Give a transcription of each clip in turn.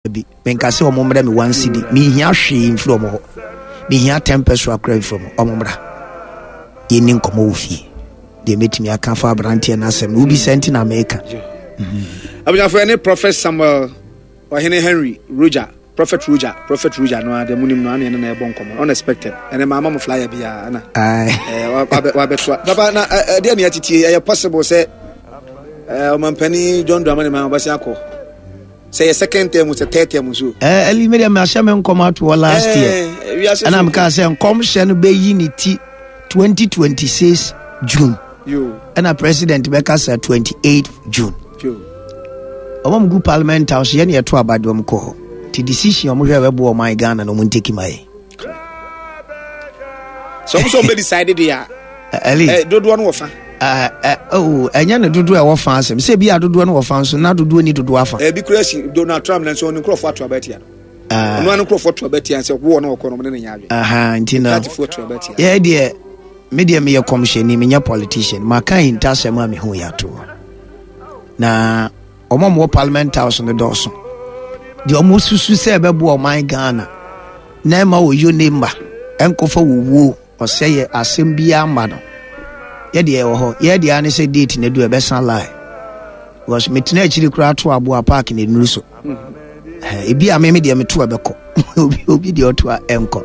Bi menka sɛ ɔmo mmrɛ me one cedi, menhia hwee mfiri ɔmo hɔ, mehia ten pesewa koraa mfiri ɔmo, ɔmo mmra yɛnni nkɔmmɔ wɔ fie. Deɛ mɛtumi aka fa aberanteɛ no asɛm no wobisa nti na meka. Abusuafo, ɛne Prophet Samuel Ɔhene Henry Roger, Prophet Roger, Prophet Roger no ara deɛ munim no, ana ɛne na ɛbɔ nkɔmmɔ unexpected. Ɛne maa ma mo flyer biara na wabɛtoa papa na ɛdeɛ ne yɛtetie. Ɛyɛ possible sɛ ɔmampanin John Dramani Mahama ɔbɛsen akɔ, sɛ yɛ second term, sɛ third term nso? Ɛɛ ɛli mi deɛ mi ahyɛ mi nkɔm ato hɔ last year. Ɛna mi ka sɛ nkɔmhyɛ no bɛyi ne ti 2026 June. Ɛna president bɛka sɛ 28 June. Ɔmo mu gu parliament house yɛ ne yɛto aba de ɔmo kɔ hɔ. Ti decision ɔmo hwɛ ɛbɛboa ɔman Ghana na ɔmo nteki ma yɛ. Sɛ ɔmo sɛ ɔmo bɛ decide de a. Ɛli. Ɛ dodoɔ no wɔ fa. Oh, ɛnyɛ ne dodoɔ a ɛwɔ fa asɛm sɛ ebi a dodoɔ no wɔ fa nso na dodoɔ ni dodoɔ afa. Ebi kura si Donald Trump na nso ɔne nkurɔfoɔ ato aba atia no. Ɔno ano nkurɔfoɔ to aba tia sɛ wɔn na wɔkɔ no, ɔmo ne ne nyɛ adwene. Nti no yɛ deɛ, me deɛ meyɛ kɔmhyɛni, menyɛ politician. Maka ahintasɛm a mehu yɛ ato hɔ na wɔn a wɔwɔ parliament house no dɔɔso. Deɛ wɔn susu sɛ ɛbɛboa ɔman Ghana na ɛma wɔyɔ ne mma ɛnkɔfa wɔwuo ɔsɛ yɛ asɛm biara mma no, yɛ deɛ ɛwɔ hɔ. Yɛ deɛ ne sɛ date na du ɛbɛsa lie because metena akyiri koraa to aboa park na enuru so. Ebi a meme deɛ meto ɛbɛkɔ, obi deɛ ɔto a ɛnkɔ.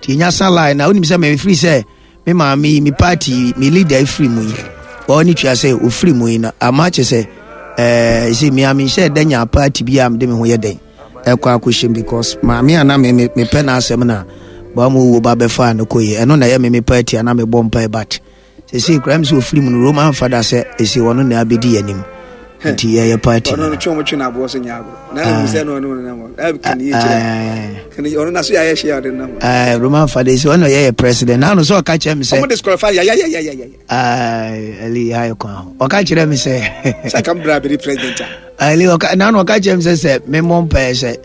Nti enya sa lie na wonim sɛ mefiri sɛ me maame yi, me party yi, me leader efiri mu yi, wɔn ne tua sɛ ofiri mu yi na ama kyɛ sɛ sɛ mmea menhyɛ dɛ nya party bi a mede me ho yɛ dɛn ɛkɔ akɔhyɛm because maame a na me mepɛ n'asɛm na baa mu owuo ba bɛfaa no kɔ yi, ɛno na ɛyɛ me me party a na mebɔ mpae. But sɛsei koraa mi sɛ ofiri mu no, Roman fada sɛ ɛsei ɔno na abɛdi yɛn anim nti yɛyɛ party no. Ɔno twɛn twɛn aboɔ so nyɛ agorɔ na ɛmu sɛ no ɔno nam hɔ kan yie kyerɛ kan ɔno na so yɛ ayɛ hyɛ ɔde nam hɔ. Roman fada sɛ ɔno yɛyɛ president na ano sɛ ɔka kyerɛ mi sɛ ɔmo disqualify ya ya ya ya ya. Ɛli ayɛ kwan ho ɔka kyerɛ mi sɛ sɛ kam bra abɛdi president a. Ɛli ɔka na ano ɔka kyerɛ mi sɛ memmɔ mpaeɛ sɛ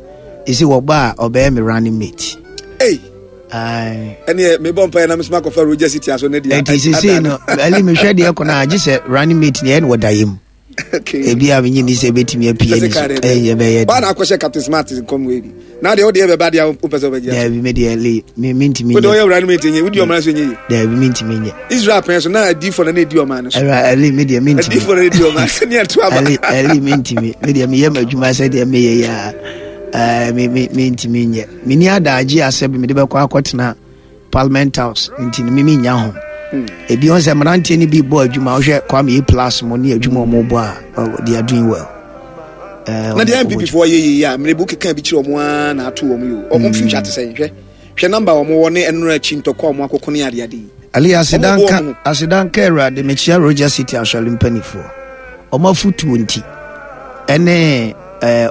ɛsi wɔba a ɔbɛyɛ me running mate. Ei. Ɛneɛ mebɔ mpaeɛ na mesoma akɔfa Roger City aso ne deɛ. Ɛnti sesei no ɛli mehwɛ deɛ kɔ no a, gye sɛ running mate ne ɛne wɔda yɛ mu. Ebi a menye ni sɛ ɛbɛtumi apue ni so ɛyɛ bɛyɛ. Ba na akɔhyɛ Captain Smart nkɔm wei bi na deɛ wodeɛ bɛba deɛ wopɛ sɛ wobɛgye. Daabi, me deɛ le mentumi. Wode ɔyɛ running mate nyɛ wodi ɔman so nyɛ yi. Daabi, mentumi nyɛ. Israel pɛn so na adiifoɔ na na ɛdi ɔman no so. Ɛwura ɛli me deɛ mentumi. Adiifoɔ na ɛdi ɔman so ne ɛto aba. Ɛli ɛli mentumi, me deɛ meyɛ m'adwuma sɛ deɛ meyɛ yɛ a ɛɛ me me mentumi nyɛ. Menni adagye asɛ bi mede bɛkɔ akɔtena parliament house nti no mimi nya ho. Ebi wɔn sɛ mmeranteɛ no bi bɔ adwuma, wohwɛ Kwame A Plus mo ne adwuma wɔn bɔ a, they are doing well. Na deɛ NPP foɔ yɛ yie a mmerɛbu keka bi kyerɛ wɔn ara na ato wɔn yi o, wɔn future te sɛ hwɛ hwɛ number wɔn wɔ ne ɛnora akyi ntɔkwa wɔn akoko ne adeade yi. Ali, asedanka asedanka Awurade. Mekyia Roger City asɔre mpanimfoɔ, wɔn afotuo nti ɛne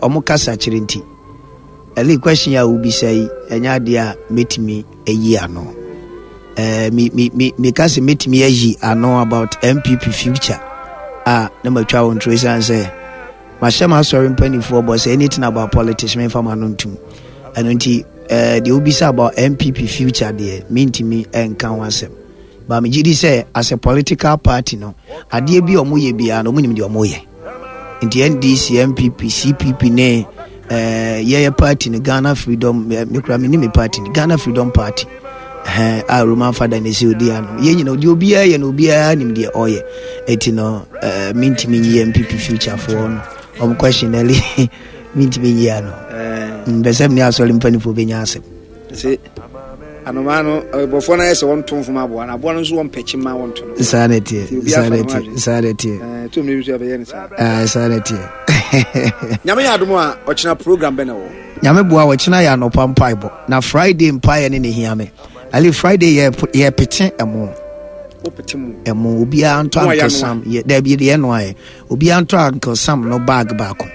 wɔn kasa kyerɛ nti. Ali, question a wobisa yi ɛnyɛ adeɛ a mɛtumi ayi ano. Me me me meka sɛ mɛtumi ayi ano about NPP future a, na matwa wo ntoro, ɛsiane sɛ mahyɛ m'asɔre mpanimfoɔ bɔ sɛ anything about politics memfa m'ano ntom. Ɛno nti deɛ wobisa about NPP future deɛ, mentumi nka ho asɛm, but megye di sɛ as a political party no, adeɛ bi a wɔyɛ biara no, wɔnim deɛ wɔyɛ. Nti NDC, NPP, CPP ne yɛyɛ party no, Ghana Freedom, mekura me ne me party no, Ghana Freedom Party a Roman fada ne sɛ ɔdi ano, yɛn nyina deɛ obiara yɛ no, obiara nim deɛ ɔyɛ. Ɛti no mentumi nyi NPP future foɔ no ɔm question ɛli, mentumi nyi ano. Mpɛ sɛ mene asɔre mpanimfoɔ bɛnya asɛm. Sɛ anomaa no bɔfoɔ no ayɛ sɛ wɔnto mfom aboa no, aboa no nso wɔmpɛ kyima wɔnto no. Saa na ɛteɛ, saa na ɛteɛ, saa na ɛteɛ. To mmiri nso ɛbɛyɛ no saa. Saa na ɛteɛ. Nyame yɛ adom a, ɔkyena program bɛ na wɔ? Nyame boa, ɔkyena yɛ anɔpa mpaebɔ na Friday mpaeɛ ne ne hia me. Ali, Friday yɛ yɛpete ɛmo. Wopete mu? Ɛmo, obiara ntɔ Uncle Sam yɛ daabi deɛ ɛno ayɛ, obiara ntɔ Uncle Sam no bag baako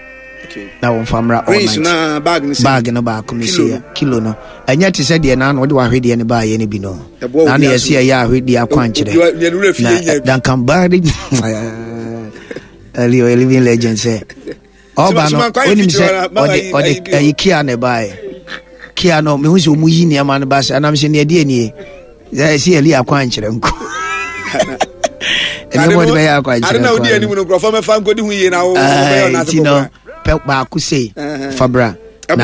na wɔmfa mmra all night. Na bag no bag no baako no sɛ kilo no ɛnyɛ te sɛ deɛ naano wode wahwedeɛ no baayɛ no bi no, na ne yɛsɛ yɛyɛ ahwedeɛ akwankyerɛ na Duncan Bari ɛli ɔyɛ living legend sɛ ɔba no, onim sɛ ɔde ɔde ɛyi kia na ɛbaayɛ kia no, mehu sɛ ɔmu yi nneɛma no ba sɛ anam sɛ neɛ deɛ nie sɛ ɛli akwankyerɛ nko ɛnneɛma ɔde bɛyɛ akwankyerɛ nko nti no pɛ baako sei fabra. Ɛboro.